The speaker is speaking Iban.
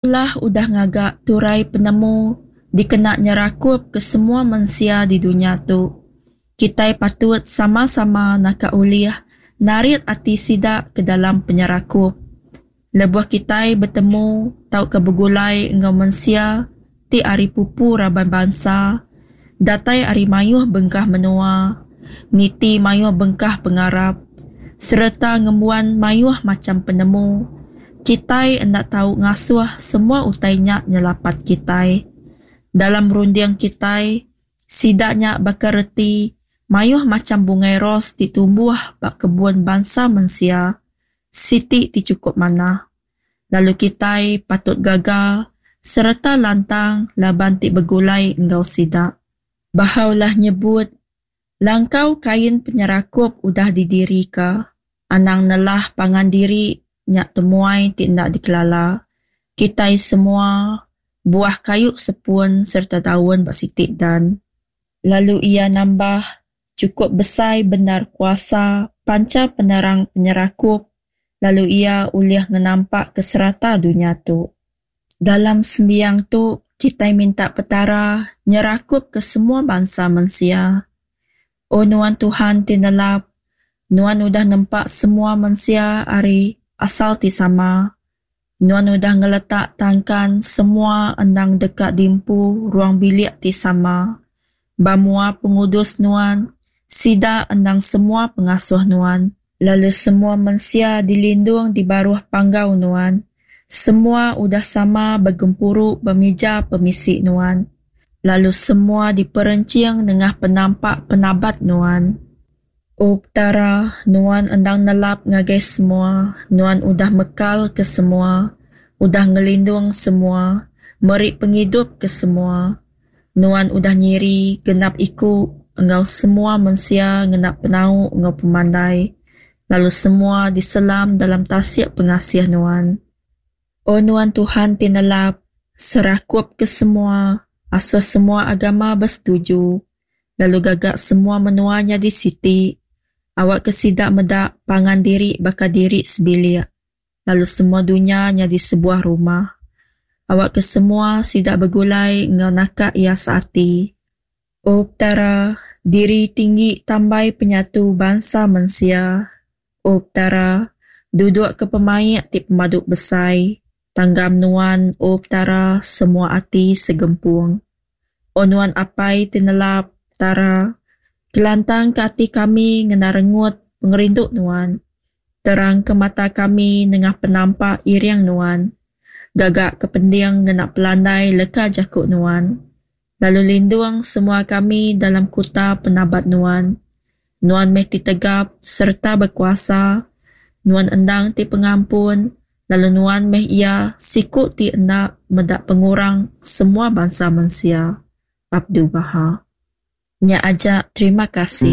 Ulah udah ngaga turai penemu dikena nyerakupka semua mensia di dunya tu. Kitai patut sama-sama naka ulih narit ati sida ke dalam penyerakup. Lebuh kitai betemu tauka begulai enggau mensia ti ari pupu raban bansa, datai ari mayuh bengkah menua, niti mayuh bengkah pengarap, sereta ngembuan mayuh macham penemu, kitai enda tau ngasuh semua utai nya nyelapat kitai. Dalam runding kitai, sida nya baka reti mayuh macham bungai ros ti tumbuh ba kebun bansa mensia. Siti ti chukup manah. Lalu kitai patut gaga sereta lantang laban ti begulai enggau sida. Baha'u'llah nyebut, Langkau kain penyerakup udah didirika. Anang nelah pangan diri nya temuai ti enda dikelala. Kitai semua buah kayu sepun sereta daun ba siti dan. Lalu iya nambah, Chukup besai bendar kuasa pancha penerang penyerakup lalu iya ulih ngenampakka serata dunya tu. Dalam sembiang tu, kitai minta Petara nyerakupka semua bansa mensia. O Nuan Tuhan ti nelap, Nuan udah nempa semua mensia ari asal ti sama. Nuan udah ngeletak tangkan semua endang deka diempu ruang bilik ti sama. Ba mua pengudus Nuan, sida endang semua pengasuh Nuan. Lalu semua mensia dilindung di baruh panggau Nuan. Semua udah sama begempuru ba mija pemisi Nuan. Lalu semua diperenching nengah penampak penabat Nuan. O Petara, Nuan endang nelap ngagai semua, Nuan udah mekal ke semua, udah ngelindung semua, meri pengidup ke semua. Nuan udah nyiri genap iku enggau semua mensia ngena penau enggau pemandai, lalu semua diselam dalam tasik pengasih Nuan. O Nuan Tuhan ti nelap, serakup ke semua, asuh semua agama besetuju, lalu gaga semua menua nyadi siti, awakka sida meda pangan diri baka diri sebilik, lalu semua dunya nyadi sebuah rumah. Awakka semua sida begulai enggau naka iya seati. O Petara, diri tinggi tambai penyatu bansa mensia. O Petara, dudukka pemaik ti pemadu besai. Tanggam Nuan, O Petara, semua ati segempung. O Nuan Apai ti nelap, Petara, kelantangka ati kami ngena rengut pengerindu Nuan. Terangka mata kami nengah penampak iring Nuan. Gagaka pending ngena pelandai leka jaku Nuan. Lalu lindung semua kami dalam kuta penabat Nuan. Nuan meh ti tegap sereta bekuasa. Nuan endang ti pengampun, lalu Nuan meh Iya siku ti enda meda pengurang semua bansa mensia. Abdu'l-Bahá. Nya aja, terima kasih.